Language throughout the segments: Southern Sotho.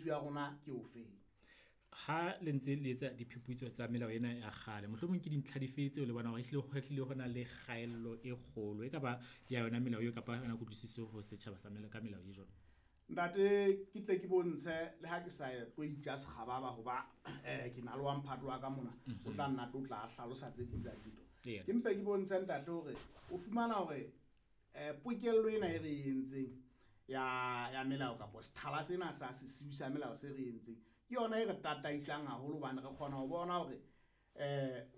ya rona ke ofeng. Ha le ntse le etsa diphuputso tsa melao ena ya kgale, mohlomong ke dintlha dife tseo le bonang hore ehlile ho hlile ho na le kgaello e kgolo e ka ba ya yona melao eo kapa yona kutlwisiso ho setjhaba sa ka melao e jwalo? Ntate, ke tle ke bontshe le ha ke sa tlo itja sekgababa hoba ke na le wa mphato wa ka mona, o tla nna tlo tla hlalosa tse ding tsa dintho. Ke mpe ke bontshe ntate hore o fumana hore pokello ena e re e entseng ya melao kapa sethala sena sa sesiu sa melao se re entseng ke yona e re tataisang haholo hobane re kgona ho bona hore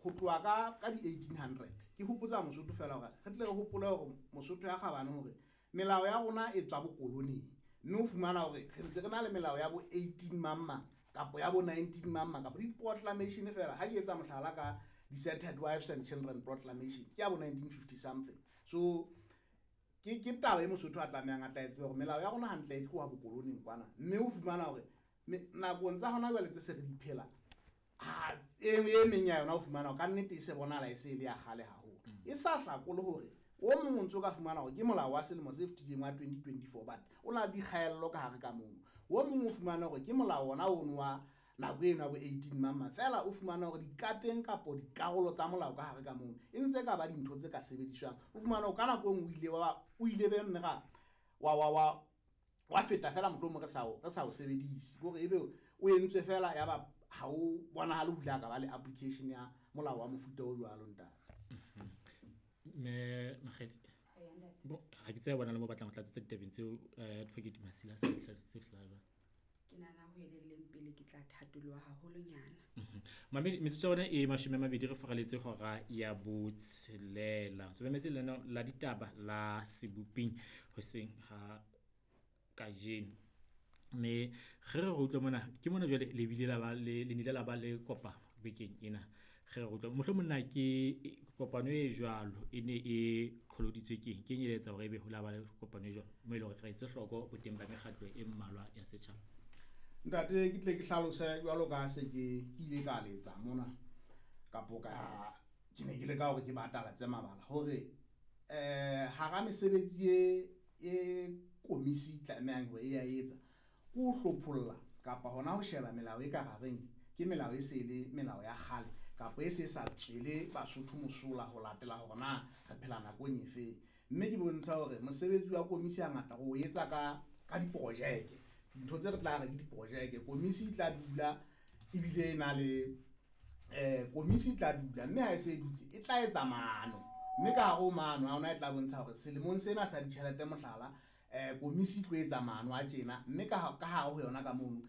ho tloha ka di-1800. Ke hopotsa Mosotho fela hore re tle re hopole hore Mosotho ya kgabane hore melao ya rona e tswa bokoloning, mme o fumana hore re ntse re na le melao ya bo 18 mang kapa ya bo 19 mang kapa di-proclamation fela. Ha ke etsa mohlala ka Deserted Wives and Children Proclamation ke ya bo 1950 something. So ke taba e Mosotho a tlamehang a tla e tsebe hore melao ya rona hantle e tloha bokoloning kwana, mme o fumana hore nakong tsa hona jwale tse se re di phela, e meng ya yona o fumana hore ka nnete e se bonahala e se e le ya kgale haholo. E sa hlakole hore o mong o ntso ka fumana hore ke molao wa selemo se fetileng wa 2024, but o na le dikgaello ka hare ka mono. O mong o fumana hore ke molao ona ono wa nako eno ya bo 18 mang fela, o fumana hore dikateng kapo dikarolo tsa molao ka hare ka mono e ntse ka ba dintho tse ka sebediswang. O fumana hore ka nako e nngwe o ile be nne ra wa feta fela mohlomong re sa o sebedise, hore ebe o entswe fela ya ba ha o bonahale ho ile ka ba le application ya molao wa mofuta o jwalo ntate. Mme Makgele, bo ha ke tsebe bona le mo batlang ho tlatsetsa ditabeng tseo, Advocate Masila sa se hlahang jwang. Ke nahana ho elelleng pele ke tla thatoloha haholonyana. Mamedi, metsotso ya rona e 20 re faraletse hora ya 6. So mametse lenaneo la ditaba la Seboping hoseng ha kajeno. Mme re re utlwe mona, ke mona jwale le bile la ba le, le nnile la ba le kopano bekeng ena. Re re utlwe mohlomong na ke kopano e jwalo e ne e qholoditswe keng? Ke eng e etsa hore ebe ho la ba le kopano e jwalo mo e leng hore re etse hloko boteng ba mekgatlo e mmalwa ya setjhaba? Ntate, ke tle ke hlalose jwalo ka se ke ile ka letsa mona kapo ka ke ne ke le ka hore ke batalatse mabala hore hara mesebetsi e komisi tlamehang hore e ya etsa ke ho hlopholla kapa hona ho sheba melao e ka rareng ke melao e se le melao ya kgale kapa e se sa tswele Basotho mosola ho latela hore na re phela nakong efe. Mme ke bontsha hore mosebetsi wa komisi hangata re o etsa ka diprojeke, dintho tse re tla re ke diprojeke. Komisi e tla dula ebile e na le komisi e tla dula mme ha e se e dutse e tla etsa maano, mme ka hare ho maano a ona e tla bontsha hore selemong sena sa ditjhelete mohlala komisi e tlo etsa maano a tjena, mme ka hare ho yona ka mono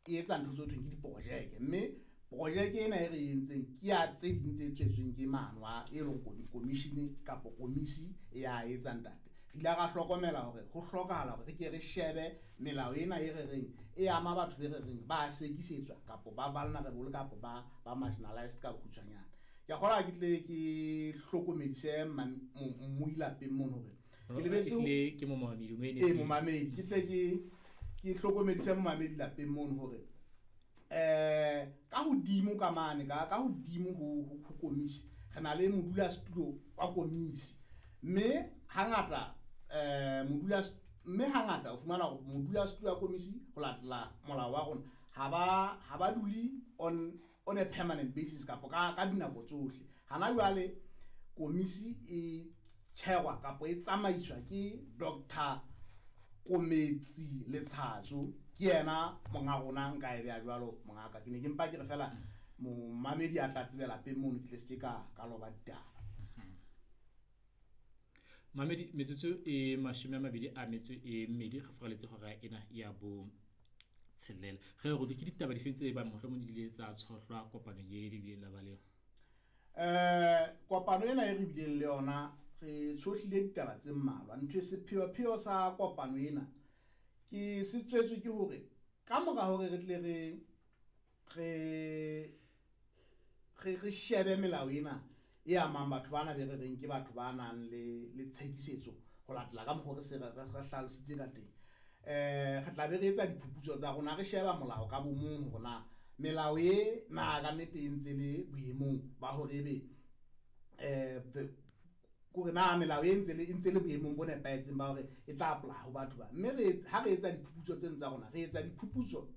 e etsa ntho tse thweng ke diprojeke, mme projeke ena e re entseng ke ya tse ding tse tswetsweng ke maano a e leng commission kapa komisi e ya etsa ntate. Re ile ra hlokomela hore ho hlokahala hore re ke re shebe melao ena e re reng e ama batho be re reng ba sekisetswa kapa ba vulnerable kapa ba marginalized ka bokgutshwanyane. Ke a kgolwa ke tle ke hlokomedise mmui lapeng mono hore ke lebetse Ehlile ke momamedi, o ene. Momamedi, ke tle ke hlokomedise momamedi lapeng mono hore ka hodimo ka mane, ka hodimo ho komisi re na le modulasetulo wa komisi, mme hangata mme hangata o fumana hore modulasetulo wa komisi ho latela molao wa rona ha ba dule on a permanent basis kapa ka dinako tsohle. Hana jwale komisi e tjherwa kapa e tsamaiswa ke Doctor Kometsi Letshatso, ke yena monga rona, nka e beha jwalo mongaka. Ke ne ke mpa ke re fela momamedi a tla tsebela lapeng mono, ke tle se ke ka loba ditaba. Mamedi, metsotso e 22 re furaletse hora ena ya bo tshelela. Re re ke ditaba dife tse bang mohlomong di ile tsa tshohlwa kopanong e le bileng la ba le yona? Kopano ena e re bileng le yona re tshohlile ditaba tse mmalwa. Ntho e sepheopheo sa kopano ena ke se tswetswe ke hore ka mora hore re tle re shebe melao ena e amang batho bana be re reng ke batho ba nang le tshekisetso ho latela ka mokgwa re se re hlalositse ka teng. Re tla be re etsa diphuputso tsa rona, re sheba molao ka bomong hore na melao e na ka nnete e ntse le boemong ba hore ebe kore na melao e ntse le boemong bo nepahetseng ba hore e tla apply ho batho ba. Mme ha re etsa diphuputso tseno tsa rona, re etsa diphuputso